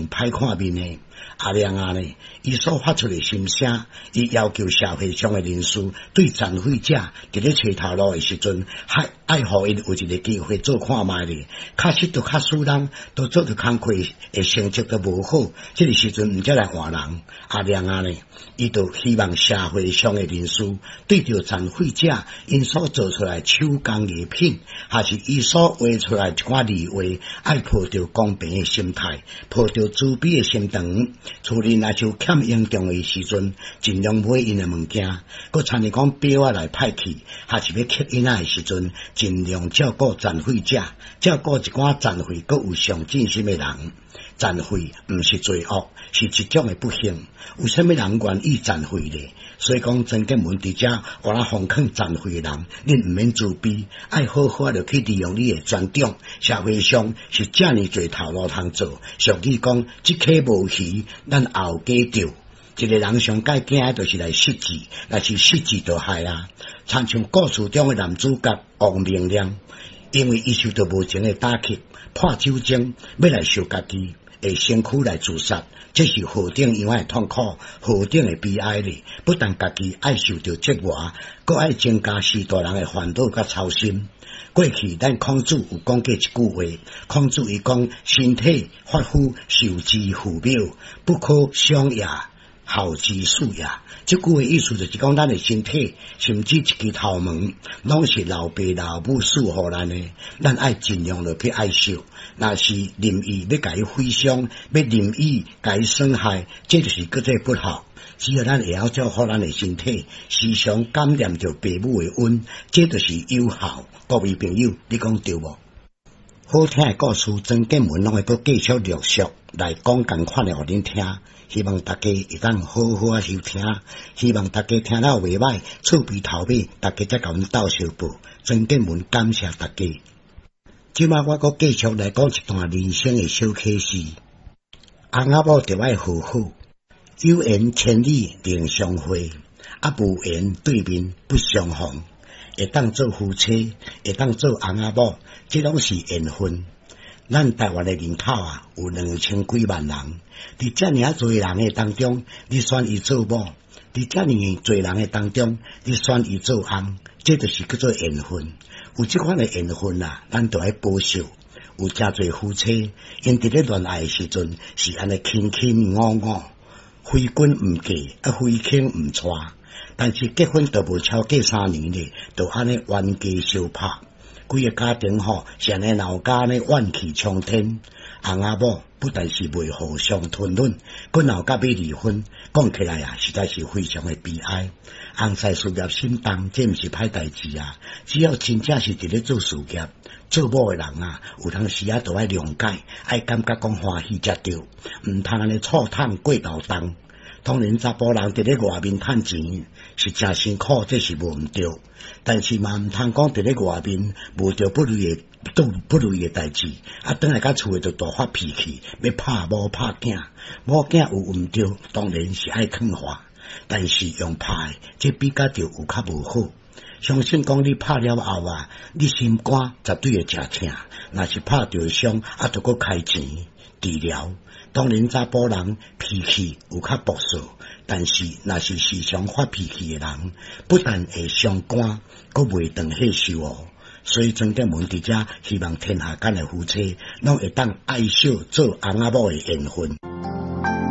歹看面的。阿亮啊呢，伊所發出的心聲，伊要求社會上的人士對殘廢者佇咧揣頭路的時陣，還愛予𪜶有一個機會做看覓咧。確實，都較使人都做著工課的成績都無好，這個時陣毋才來換人。阿亮啊呢，伊就希望社會上的人士對著殘廢者𪜶所做出來手工藝品，還是伊所畫出來一寡字畫，愛抱著公平的心態，抱著慈悲的心腸。厝裡若是有欠嚴重的時陣，盡量買𪜶的物件。閣親像講錶仔來歹去，還是欲乞囡仔的時陣，盡量照顧殘廢者，照顧一寡殘廢閣有上進心的人。殘廢毋是罪惡，是一種的不幸。有啥物人願意殘廢咧？所以講，曾建文佇遮，我來奉勸殘廢的人，恁毋免自卑，愛好好仔去利用你的專長。社會上是遮爾濟頭路通做。俗語講，這溪無魚，咱後家釣。一個人上蓋驚的就是來失志，若是失志就害啊。親像故事中的男主角王明亮，因為伊受著無情的打擊，破酒精，欲來燒家己的身軀來自殺，這是何等樣的痛苦，何等的悲哀咧！不但家己愛受著折磨，閣愛增加序大人的煩惱佮操心。過去咱孔子有講過一句話，孔子伊講：身體髮膚受之父母，不可傷也，孝之始也。這句話意思就是講，咱的身體，甚至一支頭毛，攏是老爸老母賜予咱的，咱愛盡量落去愛惜。若是任意欲共伊毀傷，欲任意共伊損害，這就是叫做不孝。只要咱會曉照顧咱的身體，時常感念著爸母的恩，這就是有孝。各位朋友，你講對無？好聽的故事，曾建文攏會閣繼續陸續來講仝款的予恁聽，希望大家會當好好仔收聽，希望大家聽了袂䆀，厝邊頭尾大家才共阮鬥相報。曾建文感謝大家。這擺我閣繼續來講一段人生的小啟示。翁仔某著愛和好，有緣千里能相會，啊無緣對面不相逢。會當做夫妻，會當做翁仔某，這攏是緣分。咱台灣的人口啊，有兩千幾萬人，佇遮爾仔濟人的當中，你選伊做某；佇遮爾濟人的當中，你選伊做翁，這就是叫做緣分。有這款的緣分啊，咱就愛保守。有誠濟夫妻，𪜶佇咧戀愛的時陣是按呢卿卿我我，非君毋嫁，啊非卿毋娶。但是結婚都無超過3年咧，就按呢冤家相拍，規个家庭吼，是按呢鬧甲按呢怨氣沖天。翁仔某不但是袂互相吞忍，閣鬧甲欲離婚，講起來啊，實在是非常的悲哀。翁婿事業心重，這毋是歹代誌啊！只要真正是佇咧做事業，做某的人啊，有當時啊，就愛諒解，愛感覺講歡喜才對，毋通按呢醋桶過頭重。當然，查埔人佇咧外面趁錢是誠辛苦，這是無毋對。但是嘛，毋通講佇咧外面無著不如的做不如意的代誌，啊，轉來到厝的就大發脾氣，欲拍某拍囝，某囝有毋對，當然是愛勸化，但是用拍的，這比較就有較無好。相信講你拍了後啊，你心肝絕對會誠疼。若是拍著傷，啊，著閣開錢治療。當然，查埔人脾氣有較暴躁，但是若是時常發脾氣的人，不但會傷肝，閣袂長歲壽哦。所以曾建文佇遮希望天下間的夫妻，攏會當愛惜做翁仔某的緣分。